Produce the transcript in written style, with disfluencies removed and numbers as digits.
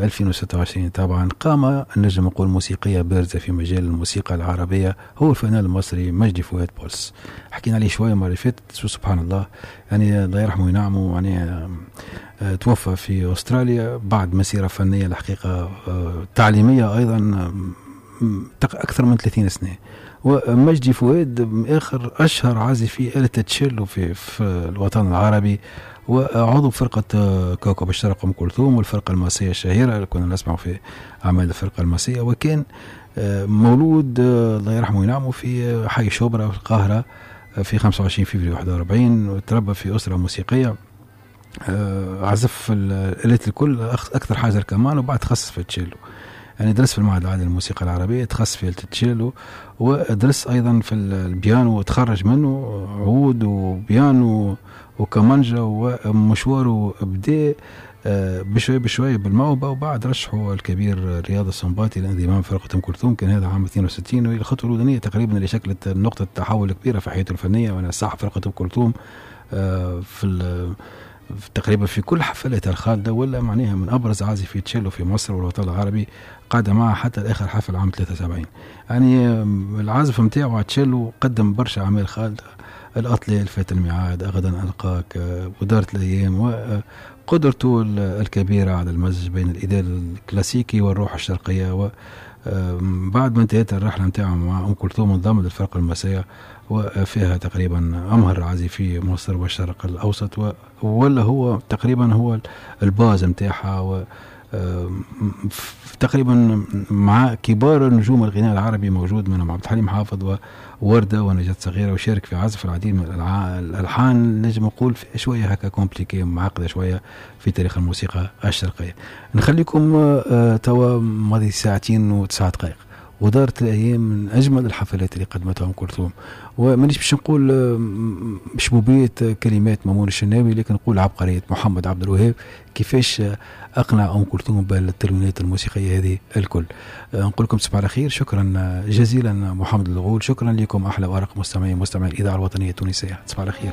2026. طبعا قامة نجم نقول موسيقية بارزة في مجال الموسيقى العربية هو الفنان المصري مجدي فؤاد بولس. حكينا عليه شوية المرة اللي فاتت، سبحان الله، يعني الله يرحمه وينعمه، يعني توفى في أستراليا بعد مسيرة فنية الحقيقة تعليمية أيضا أكثر من 30 سنة. ومجدي فؤاد آخر أشهر عازفي آلة تشيلو في الوطن العربي، وعضو فرقة كوكب الشرق أم كلثوم والفرقة الماسية الشهيرة اللي كنا نسمع في أعمال الفرقة الماسية. وكان مولود الله يرحمه وينعمه في حي شبرا في القاهرة في 25 فبراير 41، وتربى في أسرة موسيقية، عزف الآلات الكل، أكثر حاجة الكمان، وبعد تخصص في التشيلو. يعني درس في المعهد العالي للموسيقى العربية، تخصص في التشيلو، ودرس أيضا في البيانو وتخرج منه عود وبيانو وكمانجا. ومشواره بدأ بشوي بشوي بالموهبة، وبعد رشحه الكبير رياض السنباطي لانضمام فرقة أم كلثوم، كان هذا عام 62، وهي الخطوة الأولانية تقريبا اللي شكلت نقطة تحول كبيرة في حياته الفنية. وأنا صاحب فرقة أم كلثوم في تقريبا في كل حفلاتها الخالدة، ولا معناها من أبرز عازفي تشيلو في مصر والوطن العربي، قعد معها حتى الآخر حفل عام 73. يعني العازف متاعه تشيلو قدم برشا أعمال خالدة، الأطلال، فات الميعاد، غدا ألقاك، ودارت الأيام، وقدرته الكبيرة على المزج بين الإداء الكلاسيكي والروح الشرقية. وبعد ما انتهت الرحلة متاعه مع أم كلثوم انضم للفرقة الماسية، وفيها تقريبا أمهر عازفي مصر والشرق الأوسط، ولا هو تقريبا هو الباز متاعها، و تقريبا مع كبار نجوم الغناء العربي موجود منهم عبد الحليم حافظ ووردة ونجاة صغيرة، وشارك في عزف العديد من الألحان، نجم نقول شوية هكا compliquée معقدة شوية في تاريخ الموسيقى الشرقية. نخليكم توا ماضي 2 ساعات و9 دقائق، ودارت الأيام من أجمل الحفلات اللي قدمتها أم كلثوم. ومانيش باش نقول شبوبية كلمات مامون الشناوي، لكن نقول عبقرية محمد عبد الوهاب كيفاش أقنع أم كلثوم بالتلوينات الموسيقية هذه الكل. نقول لكم تصبحوا على خير، شكرا جزيلا محمد الغول، شكرا لكم أحلى وأرق مستمعي الإذاعة الوطنية التونسية، تصبحوا على خير.